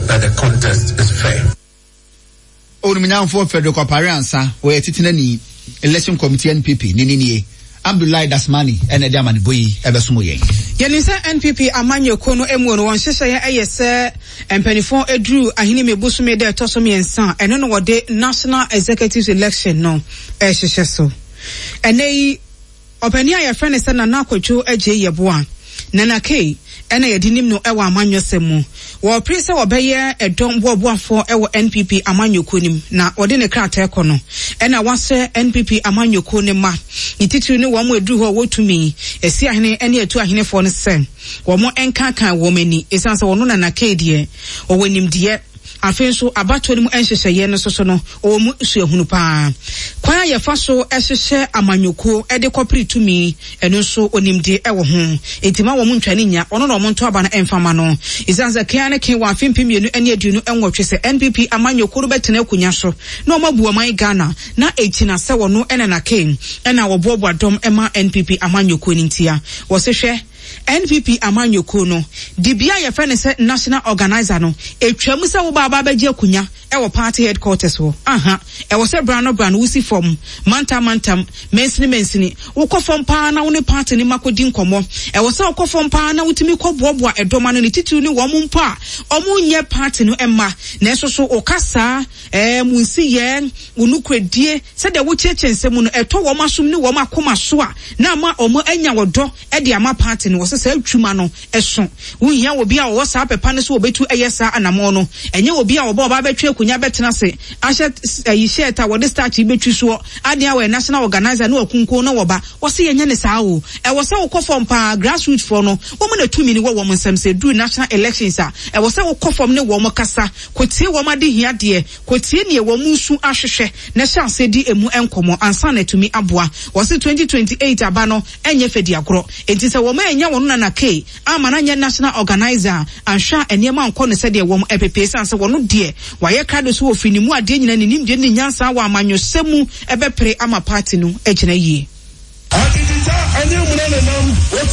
that the contest is fair. Onimnyamfoɔ Frederick Opare Ansah, ɔyɛ titenani, Election Committee NPP ne ne nie, Abdullahi Dasmani na ɛde amanebɔ yi bɛsom yɛn. Yɛnim sɛ NPP amanyɔkuo no mu no wɔn nhyehyɛeɛ yɛ sɛ mpaninfoɔ duru Ahinime bosome da ɛtɔ so mmiɛnsa a ɛno na wɔde National Executives Election no rehyehyɛ so. Ɛnnɛ yi Ɔpanin a yɛfrɛ no sɛ Nana Kwadwo Agyei Yeboah, Nana Kay, na yɛde nim no wɔ amanyɔsɛm mu. Wɔrepere sɛ ɔbɛyɛ ɛdɔm boaboafoɔ wɔ NPP amanyɔkuo no mu na wɔde ne krataa kɔ no na wasrɛ NPP amanyɔkuo no mma, ne titiriw ne wɔn a ɛduru hɔ a wɔwɔ tumi, Asiahene ne Atuahenefoɔ no sɛ wɔn nkankan wɔn ani ɛsiane sɛ ɔno Nana Kay deɛ ɔwɔ nimdeɛ. Afei nso, abatoɔ no mu nhyehyɛeɛ no nso so no, ɔwɔ mu suahunu pa ara. Kwan a yɛfa so hyehyɛ amanyɔkuo de kɔpere tumi, ɛno nso ɔnim deɛ ɛwɔ ho. Enti mma wɔn ntwa no nnya, ɔno na wɔnto aba no mfa mma no. Ɛsiane sɛ ke ara ne ke wɔ afe 2028 sɛ NPP amanyɔkuo no bɛtena akonnwa so na wɔabu ɔman Ghana, na ɛgyina sɛ ɔno na na ke na wɔboaboa dɔm ma NPP amanyɔkuo no ntia. Wɔse hwɛ! NPP amanyɔkuo no, dibea a yɛfrɛ no sɛ National Organiser no, ɛtwam sɛ woba aba abɛgye akonya wɔ party headquarters hɔ. Aha, ɛwɔ sɛ berɛ ano berɛ ano wosi fam, mantam mantam, mansini mansini, wokɔ fam pa ara na wo ne party no mma kɔdi nkɔmmɔ. Ɛwɔ sɛ wokɔ fam pa ara na wotumi kɔboaboa ɛdɔm ano, ne titiriw ne wɔn mpo a wɔnyɛ party no mma, nanso so wo kasaa, ɛɛm, wo nsiyɛɛ, wo nokorɛdie, sɛdeɛ wokyerɛkyerɛ nsɛm mu no, ɛtɔ wɔn asom ne wɔn akoma so a, na ama wɔanya ɔdɔ de ama party no. Wɔsɛ saa adwuma no so. Wonhia obi a ɔwɔ saa pɛ pa no sɛ ɔbɛtu ɛyɛ saa anamɔn no. Ɛnyɛ obi a ɔba ɔba abɛtwe akonya bɛtena ase ahyɛ ayi shirt a wɔde starch bɛtwi soɔ adeɛ a ɔyɛ national organizer ne wakunkun na wɔba. Wɔse yɛnyɛ no saa o. Ɛwɔ sɛ wokɔ fam paa. Grassroots foɔ no, wɔn na tumi no wɔ wɔn nsam. Sɛ ɛduru national elections a, ɛwɔ sɛ wokɔ fam ne wɔn kasa, kɔtie wɔn adehiadeɛ, Kɔtie neɛ wɔn resu ahwehwɛ na hyɛ aseɛ di ɛmu nkɔmmɔ ansa na atumi aboa. Wɔse 2028 aba no nyɛ fɛdiagorɔ. Enti sɛ wɔn annya wɔn Nana Kay amma no anyɛ National Organiser a, anhwɛ a nneɛma ankɔ no sɛdeɛ wɔn pɛpɛ esiane sɛ wɔno deɛ wayɛ krado sɛ ɔfiri ne mu adeɛ nyinaa ne nimdeɛ ne ne nyansa wɔ amanyɔsɛm mu bɛpere ama party no agyina yie.